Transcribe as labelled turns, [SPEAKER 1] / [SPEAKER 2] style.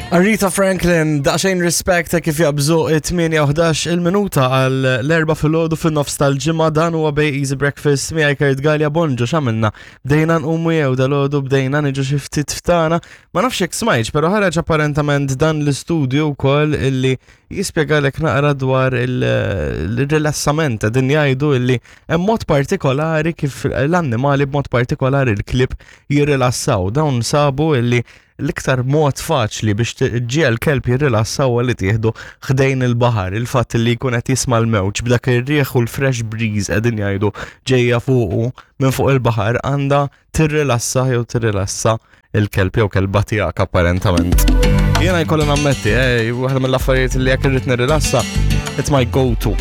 [SPEAKER 1] Aretha Franklin, daqsxejn rispect ta' kif jabżu it-8 il-minuta għal l-erba filgħodu fin-nofs tal-ġimgħa dan huwa Bay Easy Breakfast miegħi Kurt Gallia Bonġu x'għamilna. Bdejna nqumu jew dal-għodu bdejna niġu xi ftit ftana. Ma nafx jekk smajtx, però ħareġ apparentament dan l-istudju wkoll illi jispjegalek naqra dwar il-rilassament din jgħidu illi hemm mod partikolari kif l-annimali b'mod partikolari l-klib jirrilassaw. Dawn sabu illi L-iktar mod faċli biex tġiegħel kelb jirrilassa huwa li tieħdu ħdejn il-baħar. Il-fatt li jkun qed jisma' l-mewġ b'dak ir-riħ u l-fresh breeze qegħdin jgħidu ġejja fuqu minn fuq il-baħar għandha tirrilassa jew tirrilassa il-kelb jew kelba tiegħek apparentament. Jiena jkolli nammetti, eh, waħda mill-affarijiet li jekk irrid nirrilassa, it's my go-to.